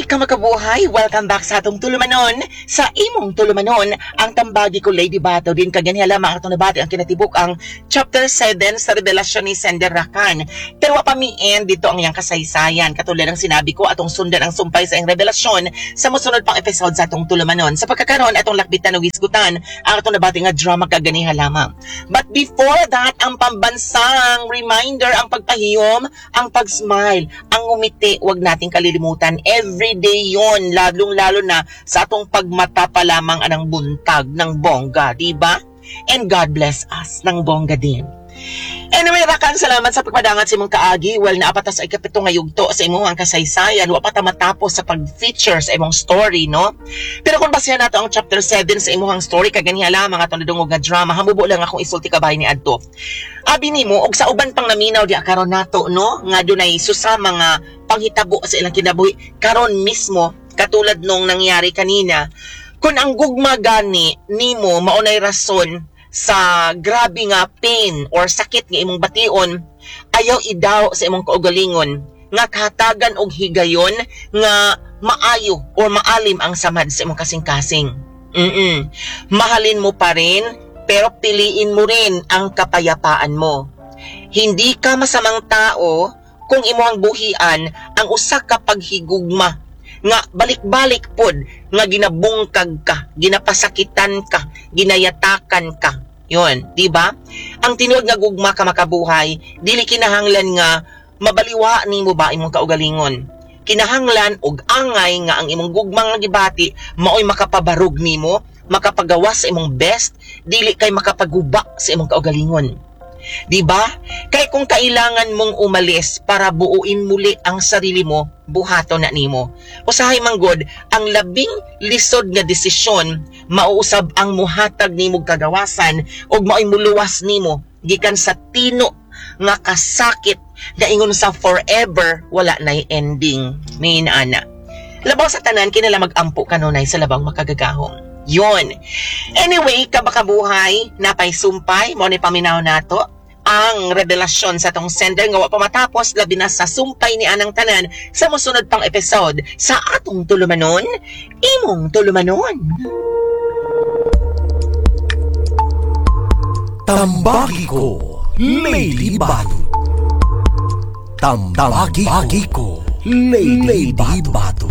Kamakabuhay, welcome back sa atong tulumanon, sa imong tulumanon, ang Tambagi Ko, Lady Bato. Din kaganiha lamang atong nabati ang kinatibuk ang chapter 7 sa revelasyon ni Sender Rakan. Pero wa pa mi end dito ang iyang kasaysayan. Katulad ng sinabi ko, atong sundan ang sumpay sa iyang revelasyon sa mosunod pang episode sa atong tulumanon. Sa pagkakaroon, atong lakbitan o hisgutan ang atong nabati nga drama kaganiha lamang. But before that, ang pambansang reminder, ang pagpahiyom, ang pag-smile, ang ngumiti, wag nating kalilimutan. Every day yon, lalong-lalo na sa atong pagmata pa lamang anang buntag ng bongga, di ba? And God bless us ng bongga din. Anyway, Rakan, salamat sa pagpadangat sa imong kaagi. Well, naa pa ta sa ikapito nga yugto sa imong ang kasaysayan. Wa pa ta matapos sa pag-feature sa imong story, no? Pero kung basehan nato ang chapter 7 sa imong story, kaganiha lamang atong nadungog nga drama, hamubo lang akong isulti kabay ni adto. Abi nimo og sa uban pang naminaw di karon nato, no, nga dunay susa mga panghitabo sa ilang kinabuhi karon mismo, katulad nung nangyari kanina. Kung ang gugma gani nimo maunay rason sa grabe nga pain or sakit nga imong bation, ayaw idaw sa imong kaugalingon nga kahatagan og higayon nga maayo or maalim ang samad sa imong kasing-kasing. Mahalin mo pa rin, pero piliin mo rin ang kapayapaan mo. Hindi ka masamang tao kung imong buhian ang usa ka paghigugma nga balik-balik pod nga ginabungkag ka, ginapasakitan ka, ginayatakan ka. Yun, di ba? Ang tinuod nga gugma ka, makabuhay, dili kinahanglan nga mabaliwa nimo ba imong kaugalingon. Kinahanglan og angay nga ang imong gugma nga gibati maoy makapabarog nimo, makapagawas sa imong best, dili kay makapaguba sa imong kaugalingon. Di ba? Kay kung kailangan mong umalis para buuin muli ang sarili mo, buhaton na nimo. Usahay manggod, ang labing lisod nga desisyon mauusab ang muhatag nimo kagawasan ug maoy muluwas nimo gikan sa tino nga kasakit nga ingon sa forever wala nay ending. May ana. Labaw sa tanan, kinala mag-ampo kanunay sa labang makagagahom. Yun. Anyway, kabakabuhay, napay sumpay, mo ni paminaw nato ang revelasyon sa tong sender nga wa pa matapos, labi na sa sumpay ni anang tanan sa mosunod pang episode sa atong tulumanon, imong tulumanon. Tambagi Ko, Lady Bato. Tambagi Ko, Lady Bato.